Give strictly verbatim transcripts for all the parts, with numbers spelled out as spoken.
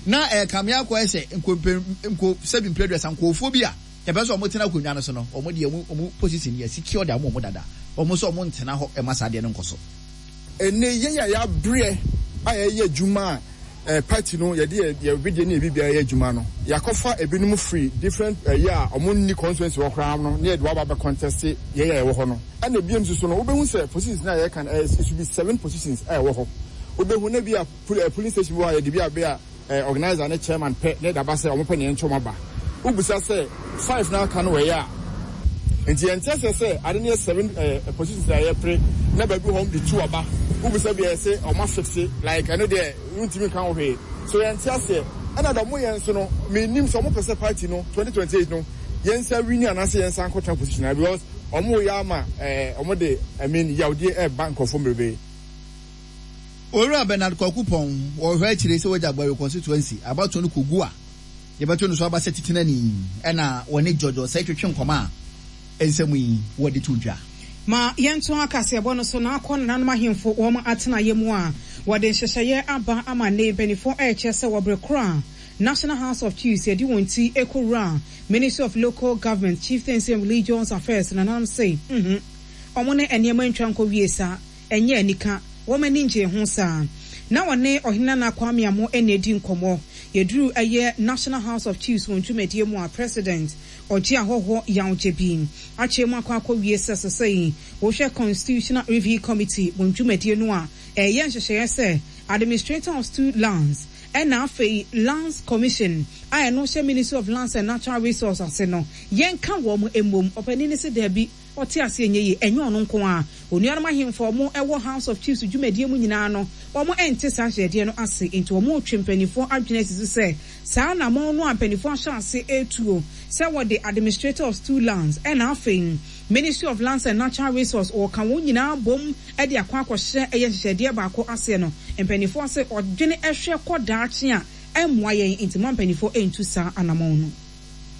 Na ɛrekame akɔyɛ sɛ nko nko sɛbi mpere aduasa nkurɔfoɔ bi a yɛpɛ sɛ wɔn tena akonnwa no so no, wɔn deɛ wɔn wɔn position yɛ secure de ama wɔn dada, wɔn nso wɔn ntena hɔ ɛma saa adeɛ no nkɔ so. Ɛnɛ yɛn a yɛabrɛ a yɛyɛ adwuma a party no yɛde yɛ wedeɛ ne yɛ biribiara yɛ adwuma no, yɛakɔfa ebinom firi different ɛyɛ a ɔmo nni constituency wɔ koraa no ne yɛde waba bɛ contest yɛn a yɛwɔ hɔ no. Ɛna ebiem nso so no, wobɛhu sɛ positions na yɛka no ɛyɛ, it should be seven positions a ɛwɔ hɔ. Wobɛhu na bi a polling station bi wɔ a yɛde bi a bɛ a organizer ne chairman pɛ ne daba sɛ ɔmo pɛ ne yɛn nkyɛn aba. Wobisa sɛ five na aka no wɔ yɛ a, nti yɛn kyɛ sɛ sɛ ade no yɛ seven ɛɛ positions a yɛpere na baabi hɔ de two aba. Wobisa bi a yɛsɛ ɔmo afixe like ɛno deɛ ntumi nka ho hwee so yɛn ti aseɛ. Ɛna dɛ ɔmo yɛn nso no, menim sɛ ɔmo pɛ sɛ party no twenty twenty eight no yɛn nsa win anaasɛ yɛn nsa nkɔtena position na because ɔmo yɛ ama ɛɛ ɔmo de, I mean, yawdeɛ ɛɛba nkurɔfoɔ bebree. Owura Bernard Kwaku Pɔn wɔhwɛ akyire sɛ wɔgya Agbari constituency abatoɔ no kogu a yɛbɛto no so aba sɛ titenani, ɛna wɔne George Osei twetwe nkɔmɔ a nsɛm yi wɔde to dwa. Ma yɛnto akaseɛbɔ no so na akɔ nananom ahemfo wɔn atenaeɛ mu a wɔde nhyehyɛeɛ aba ama ne mpanimfoɔ ɛrekyerɛ sɛ wɔbere koro a National House of Chiefs yɛde wɔn ti ekɔwura Ministry of Local Government, Chieftaincy and Religious Affairs, nananom se mhm ɔmo ne nneɛma ntwa nkɔ wie saa, ɛnyɛ anika, wɔn ani ngye ho saa. Na wɔne Ɔhene Nana Kwame Amo ɛna edi nkɔmɔ. Yɛduru ɛyɛ National House of Chiefs wɔn dwumadie mu a, President Ɔgye Ahɔhoɔ Yawgye bi akyerɛ mu akɔ akɔ wie sɛ sɛsɛ yi wɔhwɛ Constitutional Review Committee wɔn dwumadie no a ɛyɛ nhyehyɛeɛ sɛ Administrator of Stool Lands ɛna afei Lands Commission a ɛno hyɛ Ministry of Lands and Natural Resources ase no, yɛnka wɔn mmom. Ɔpanin ne sɛ daabi, ɔte aseɛ nyɛ yie, ɛnyɛ ɔno nko a onuanom ahemfo a wɔn ɛwɔ House of Chiefs dwumadie mu nyinaa no, wɔn ɛnte saa ahyɛdeɛ no ase. Nti wɔn retwe mpanimfoɔ adwene asi so sɛ saa anamɔn no a mpanimfoɔ ahyɛ ase etuo sɛ wɔde Administrator of Stool Lands ɛna afei Ministry of Lands and Natural Resources wɔka wɔn nyinaa bom ɛde akɔ akɔhyɛ ɛyɛ nhyehyɛdeɛ baako aseɛ no, mpanimfoɔ ase ɔdwene ɛhwɛ kɔ daakye a ɛmmoa yɛn, nti mo mpanimfoɔ ɛntu saa anamɔn no.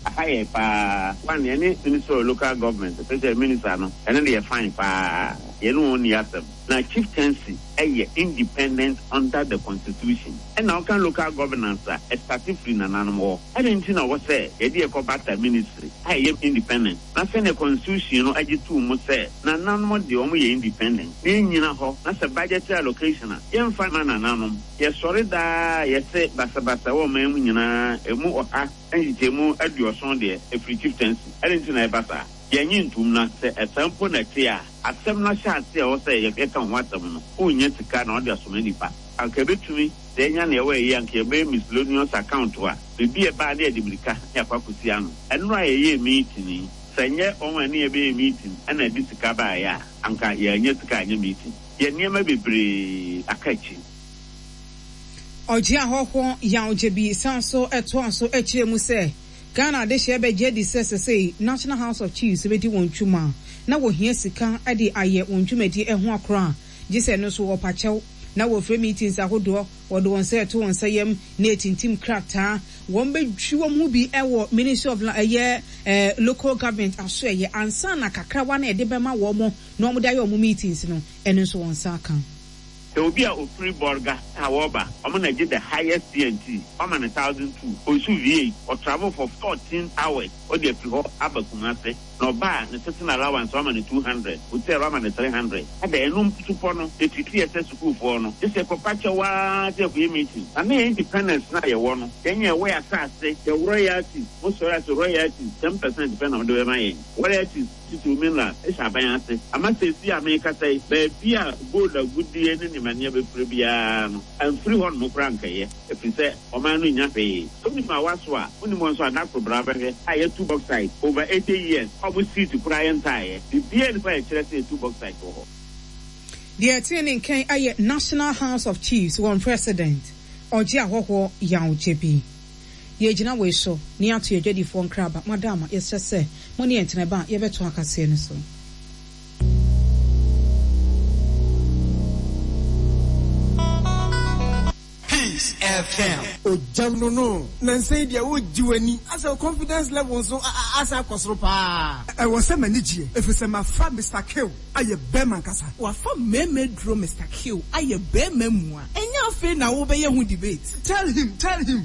Aha yɛ paa one, yɛne Minister of Local Government, especially minister no, ɛno de yɛ fine paa, yɛne wɔn ni asɛm. Na chieftaincy ɛyɛ independent under the constitution, ɛna ɔka local governance a ɛstart firi nananom hɔ. Ɛde nti na wɔ sɛ yɛde yɛkɔ bata ministry a ɛyɛ independent, na sɛnea constitution no agye tuu mu sɛ nananom deɛ wɔn yɛ independent na yɛnyina hɔ, na sɛ budgetary allocation a yɛmfa ma nananom. Yɛsɔre daa yɛsɛ basabasa wɔ ɔman mu nyinaa, emu ɔha nkyekyɛmu aduɔson deɛ ɛfiri chieftaincy. Ɛde nti na ɛba saa, yɛnye ntom. Na sɛ ɛsɛ mpo na ɛte a asɛm no ahyɛ ase a ɛwɔ sɛ yɛka ho asɛm no, wonnya sika na ɔde asoma nipa anka ɛbɛtumi sɛ ɛnya nea ɛwɔ ɛyɛ anka yɛbɛyɛ miscellaneous account a biribi ɛbaa ne yɛde mirika ne akɔ akɔsi ano. Ɛno a yɛyɛ meeting yi, sɛ nyɛ wɔn a ne yɛbɛyɛ meeting ɛna ɛde sika baeɛ a, anka yɛanya sika anyɛ meeting. Yɛ nneɛma bebree aka akyi. Ɔgye Ahɔhoɔ Yawgye bi san so ɛtoa so akyerɛ mu sɛ Ghana adehyɛ bɛgye adi sɛ sɛsɛi National House of Chiefs bɛdi wɔn dwuma na wɔhia sika de ayɛ wɔn dwumadie ho akorɔ a gye sɛ no nso wɔpakyɛw na wɔfrɛ meetings ahodoɔ, wɔde wɔn nsa ɛto wɔn nsa yam na etintim krataa wɔn bɛtwi wɔn ho bi ɛwɔ Ministry of ɛyɛ ɛɛ Local Government aso ɛyɛ ansa na kakrawa na yɛde bɛma wɔn na wɔn de ayɛ wɔn meetings no, ɛno nso wɔn nsa aka. Sɛ obi a ofiri Bɔrga a wɔreba, ɔmo na gye the highest T and T, ɔma no thousand two, osu V eight, ɔtravel for fourteen hours, ɔde afiri hɔ aba Kumase, na ɔbaa ne sitting allowance ɔma no two hundred, hotel ɔma no three hundred. Ada ɛno supɔ no etiti yɛ sɛ sukuufoɔ no gye sɛ kɔpa kyɛw waa sɛ ɛkɔyɛ meeting. Na ne yɛ independence na yɛwɔ no, yɛn yɛ ɛwɔ yɛ asase, yɛ royalties, mo sɔrɔ ase royalties ten percent pɛ na ɔde bɛma yɛn. Royalties titiri mineral ɛhyɛ aban ase ama sɛsi a mekasa yi, baabi a gold agudie ne nneɛma bɛfiri biara no amfiri hɔ nom koraa nkɛyɛ, ɛfiri sɛ ɔman no nya hwee. Wonim a waso a wonim wɔn nso adakoro bra bɛhwɛ a yɛtu bauxite over eighty years, ɔmo seat koraa yɛntaeɛ biribiara nipa yɛkyerɛ sɛ yɛtu bauxite wɔ hɔ. Deɛ ɛteɛ ne nkan ayɛ National House of Chiefs wɔn president Ɔgye Ahɔhoɔ Yawgye bi. Yɛgyina wei so ne ato yɛdwadifoɔ nkraba madama. Yɛsrɛ sɛ mo ne yɛntena ba a yɛbɛto akaseɛ no so. Peace F M. Ogyam no no nansa yi deɛ wogye w'ani asɛ wo confidence level nso asa akɔ soro paa. Ɛwɔ sɛ m'ani gyeɛ ɛfiri sɛ mafa Mister Kill ayɛ bɛrima nkasa. Wafa mmarima duro Mister Kill ayɛ bɛrima mu a ɛnyɛ afei na wobɛyɛ ho debate. Tell him, tell him.